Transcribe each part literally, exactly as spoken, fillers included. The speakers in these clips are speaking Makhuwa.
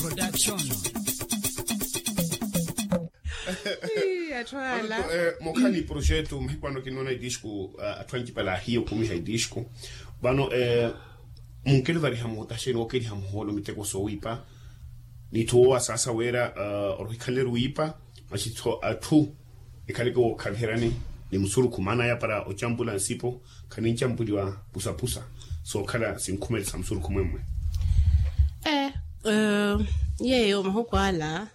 Production. Ii, atthu ala. Mokhala ni projeto mahiku ano kinoona itisku atthu ancipala ahiya okumiha itisku. Vano munkeli ovariha muhota xeeni wookeliha muhoolo miteko soowiipa n'itthu woowasaasa wira orohikhanleru wiipa. Maxitho atthu ekhaleke wookhaviheryani ni musurukhu maana aya para ocampula nsipo khanincampuriwa pusapusa sookhala sinkhumelisa musurukhu mwemmwe. Yeeyo mahuku ala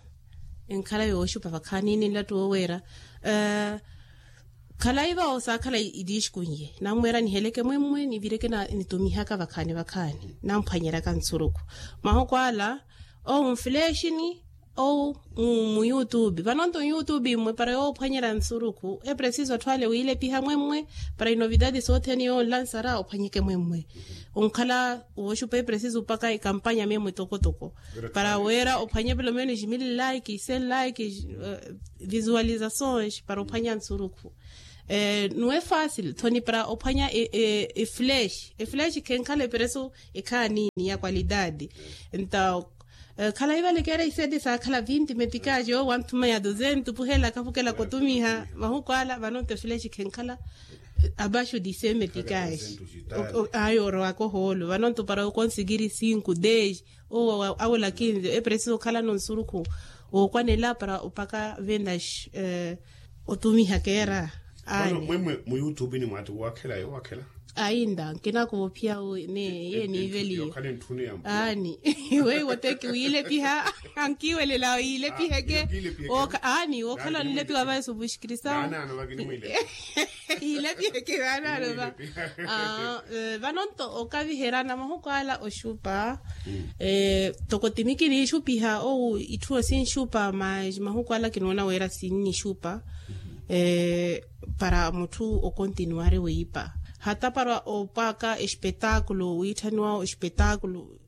enkhala yooxupa vakhaani ni nlattu wooweera. Khalayi vawo saakhala itiixkunye nammweera niheleke mwemmwe nivireke nitumihaka vakhaani vakhaani namphwanyeryaka nsurukhu. Mahuku ala owo mfulexini owo muyutubi vanonto nyutubi mmwe para yoophwanyerya nsurukhu epresiso atthu ale wiilepiha mwemmwe para inovidadi sothene yoonlansara ophwanyeke mwemmwe. Onkhala wooxupa epresiso opaka ekampanya memmwe tokotoko para wira ophwanye pelo menos mil like cien like visualizações para ophwanya nsurukhu. Nuwe fácil thoni para ophwanya eflesh eflesh khenkhala epereso ekhaanini ya qualidade. Nta khalayi vale keera isete saakhala vinti metikaxe owo wanthuma ya duzento puhelaka pukelaka otumiha mahuku ala vanonto eflesh khenkhala abaxo di cien metikaxe. Ayi orowaka ohoolo vanonto para okonsikiri cinco dez owo awela kinze epresiso okhalano nsurukhu wookwanela para opaka vendas otumiha keera. Mwemmwe mu youtube ni mwaati waakhela yo waakhela. Ainda nkinakuva ophiya wu ne iye niiveliyo. Aani weiwo teki wiilepiha ankiwelela yiilepiheke. Aani wookhala nilepiwa vaye subuxikirisa. Yiilepiheke vaanaano va. Vanonto okaviherana mahuku ala oxupa toko timi kinixupiha ou itthu sinxupa mas mahuku ala kinoona wira sinnixupa para mutthu okontinuwari wiipa hata para opaka espetakulo wiitthaniwa espetakulo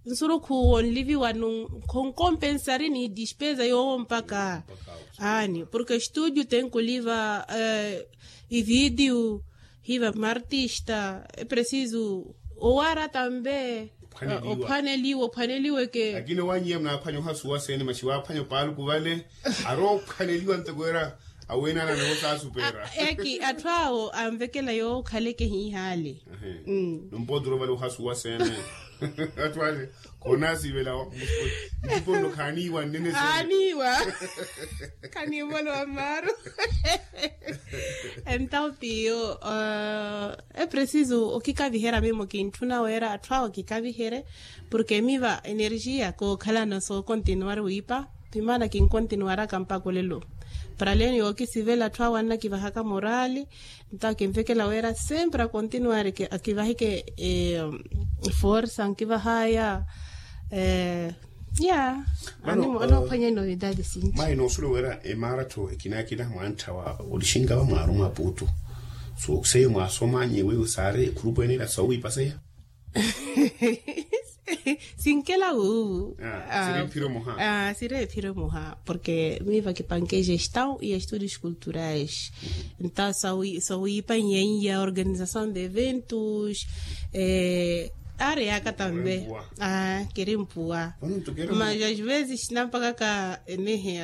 nsurukhu wonliviwanu khonkompensari ni dispesa yoowo mpaka. Aani porke estudio tenkuliva ividiu hiva martista epresiso owara tambe ophwaneliwa ophwaneliweke. Lakini owanyiya munaaphwanya ohasuwa sene maxi waaphwanya opaaluku vale ari ophwaneliwa nteko era awenana noho saasupera. Eki atthu awo anvekela yookhaleke hiihale. Nompoturo vale ohasuwa sene atthu ale khonasivela. Ntiponno khaaniiwa nnene sene aaniiwa. Khanivolowa mmaaru. Entawu tiyo epresiso okikaviherya mimo kintthuna wira atthu awo kikaviherye porke miva energia kookhalana sookontinuwari wiipa. Pimaana kinkontinuwaraka mpaka olelo para leni yookisivela atthu awo annakivahaka morali. Ntawo kinvekela wira sempre akontinuwari akivaheke forsa nkivahaya. Ya anoophwanya inovidadi sinci. Mayi noosulewa wira emaratho ekina ekina mwantthawa olixinka vamwaaru mwaputu so seiyo mwaasomanye weiwo saari ekhurupu ene ila soowiipaseya. Sinkela wuuwu. Siri ephiro muha porke miiva kipanke gestão e estudos culturais. Nta sowiipa nyenya organização de eventos. Ari yaka tambe kiri mpuwa mas às vezes nampakaka enehe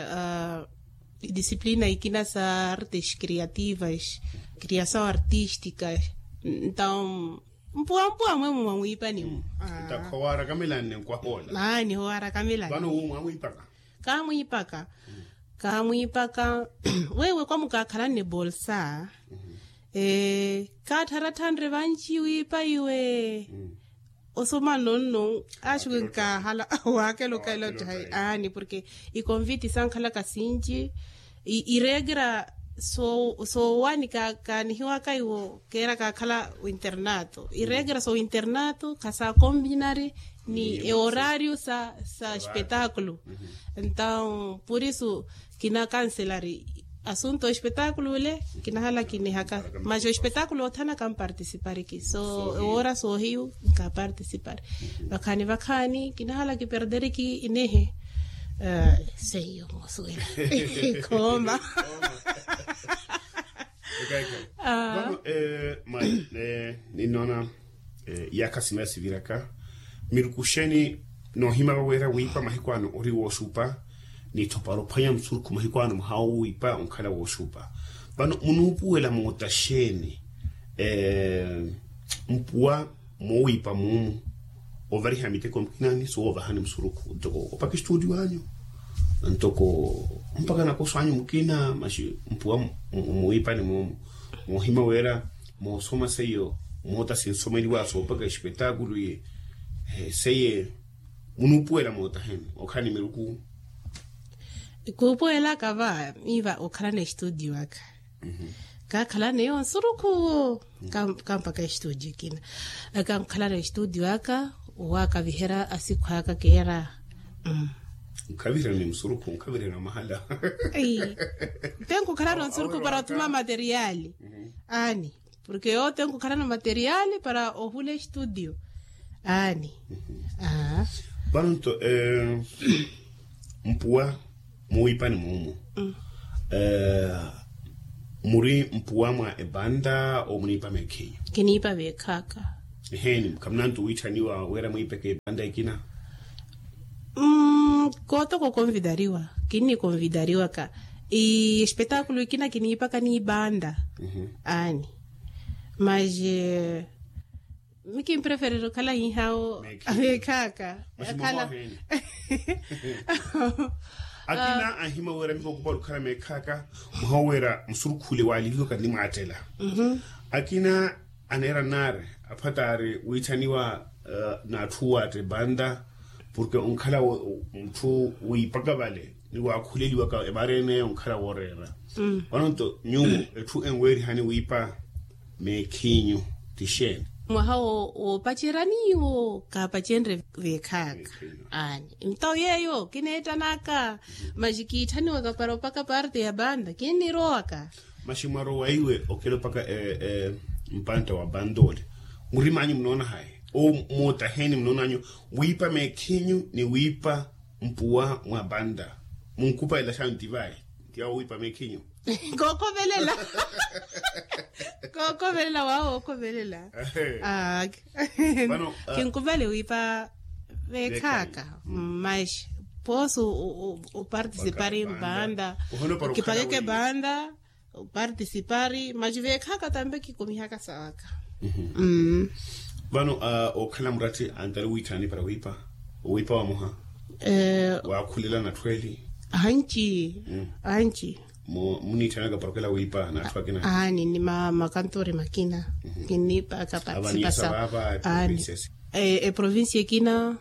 disciplina ikina sa artes criativas criação artística. Então mpuwampuwa mwemu mwa mwiipani-mu. Ntakha owaarakamelanne nkwahoola. Aani owaarakamelanne vano wu mwamwiipaka. Kaamwiipaka kaamwiipaka. Wewe kwamukaakhalanne bolsa kaattharatthanre vanci wiipa iwe. Osoma nonno axiwe nkaahala waakela okaila ottahi. Aani porke ikonviti sankhalaka sinci iregra soowaani kaanihiwaka iwo keera kaakhala winternato iregra sowinternato khasaakombinari ni eorario sa espetakulo. Entaw purisu kinakanselari asunto espetakulo ole kinahala kinihaka mas espetakulo othana kampartisipariki so ewora soohiyu nkapartisipari. Vakhaani vakhaani kinahala kiperderiki inehe seiyo moosuwela. Khooma. Vano mali ninnoona iyakha sina siviraka miruku xeeni noohimava wira wiipa mahiku ano ori wooxupa. Ni tho para ophwanya musurukhu mahiku ano muhaawo wiipa onkhala wooxupa. Vano munuupuwela moota xeeni mpuwa moowiipa muumu ovariha miteko mukina ni soovahani musurukhu ntoko opaka estudio anyu ntoko mpaka nakoso anyu mukina maxi mpuwa muwiipani muumu. Moohima wira moosoma seiyo moota sinsomeliwa soopaka espetakulu ye seiye munuupuwela moota heni okhala ni miruku. Kuupuwelaka va miiva okhalana estudio aka kaakhalana eyo nsurukhu kampaka estudio ekina. Aka nkhalana estudio aka owaakaviherya asikhu aka keera. Nkhaviherya ni musurukhu nkhaviherya na mahala. Te nkukhalana nsurukhu para othuma materiali aani. Porke yote nkukhalana materiali para ohula estudio aani. Vano nto mpuwa muwiipani muumu muri mpuwa mwa epanta omuniipa meekhinyu? Kiniipa veekhaka. Eheeni khamunantu wiitthaniwa wira mwiipeke epanta ekina. Kootoka okonvidariwa kinnikonvidariwaka espetaakulu ekina kiniipaka niipanta. Aani. Maxe mi kimpreferere okhala hihawo. Meekhaaka akhala. Akina anhima wira mikokupala okhala meekhaaka mwaha wira musurukhule waaliliwaka ni mwaattela. Akina aneera nnaari aphwataari wiitthaniwa n'atthu owaatta epanta porke onkhala mutthu wiipaka vale ni waakhuleliwaka emareene onkhala wooreera. Vano nto nyuwo etthu enweerihani wiipa meekhinyu ti xeeni? Mwaha woopacerya niiwo kaapacenrye veekhaaka. Aani nto yeeyo kineettanaka maxi kiitthaniwaka para opaka parte ya panta kinnirowaka. Maxi mwarowa iwe okela opaka mpantta wa panta ole murimanyu munoona hayi? Owo moota heeni munoonanyu wiipa meekhinyu ni wiipa mpuwa mwa panta munkupalela xaani ntivayi ntiyawo wiipa meekhinyu. Kookhovelela. Kookhovelela waawo ookhovelela. Kinkuvale wiipa veekhaaka. Maxi poosi opartisipari mpanta okipakeke panta opartisipari maxi veekhaaka tampe kikumihaka sawaka. Vano ookhala muratti antari wiitthani para wiipa owiipa wamoha waakhulela natthu eli. Anci anci muniitthanaka para okela wiipa n'atthu akina? Aani ni makantori makina kinniipaka partisipasa. Aani eprovincia ekina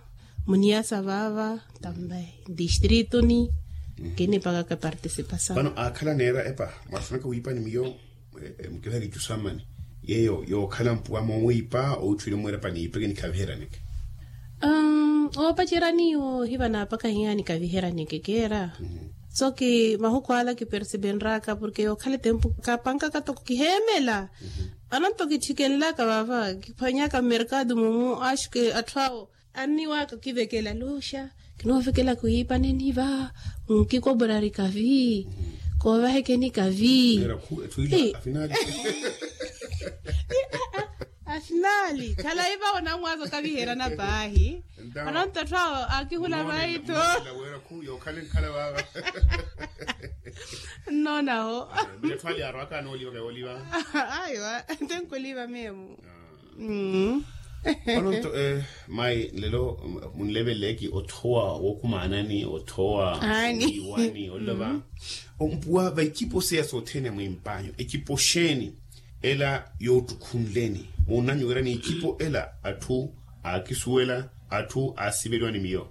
muniyasa vaava tambe distritu ni kinniipakaka partisipasa. Vano aakhala aneera epa mwasunaka wiipa ni miyo mukivaha kicusammani yeeyo yookhala mpuwa moowiipa owitthuwile mweerapa niipeke nikhaviheryaneke. Oopacerya niiwo hiva naapaka hiya nikhaviheryaneke keera. Soki mahuku ala kipersipenraka porke yookhala etempu kapankaka toko kiheemela. Ananto kitthikenlaka vaava kiphwanyaka mmerkado mumu axuke atthu awo anniwaaka okivekela luxa kinoovekelaka oyiipa neniva nkikoborari kavi koovahekeni kavi. Afinali khala iva onamwaza okaviherana paahi. Ananto atthu awo akihula vaitho. Nnonaho. Aiwa tenkuliva memu. Ononto mayi nlelo munleveleki othowa wookumaanani othowa iwani olova. Ompuwa va ecipo seya sothene mwimpanyu ecipo xeeni ela yoottukhunleni muunanyu wira ni ecipo ela atthu aakisuwela atthu aasiveliwa ni miyo.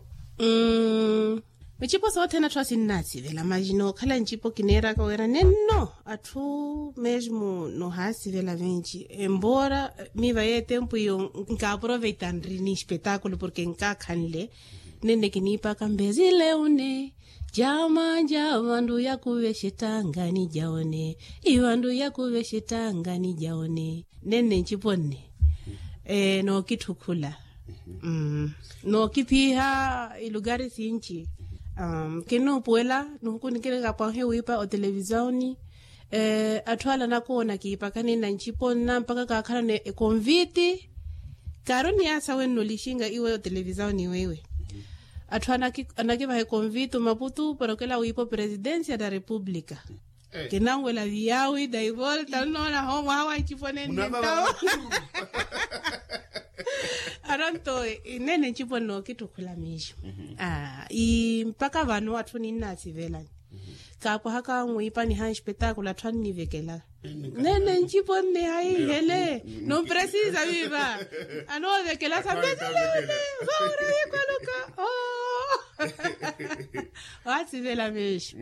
Ecipo sothene atthu asinnaasivela maxi nookhala ncipo kineeraka wira nenno atthu mesmo nohaasivela venci embora miiva yeetempu iyo nkaaproveita nri ni espetakulu porke nkaakhanle. Nenne kiniipaka mbezile une jama ja vandu yakuve xettangani ja one ivandu yakuve xettangani ja one. Nenne ncipo nne nookithukhula nookiphiha ilukari sinci. Kinnuupuwela nihuku nikirikapwahe wiipa otelevisioni atthu ala nakoona kiipakani na ncipo nna mpaka kaakhalana ekonviti. Kaari oniyasa wenno olixinga iwe otelevisioni weiwe atthu anakivaha ekonvitu maputu porokela wiipo presidencia da república. Kinanwela viyawi daivolta nnoona ho mwaha wa ncipo nenne ntawo. Aronto nene ncipo nnookittukhula miixo. Mpakha vano atthu ninnaasivelani kaapwahaka mwiipani ha nspetakulo atthu annivekela. Nene ncipo nne haihele. Nompresiza viiva anoovekelasa mbetelele. Vaura hikwaluka oo. Waasivela miixo.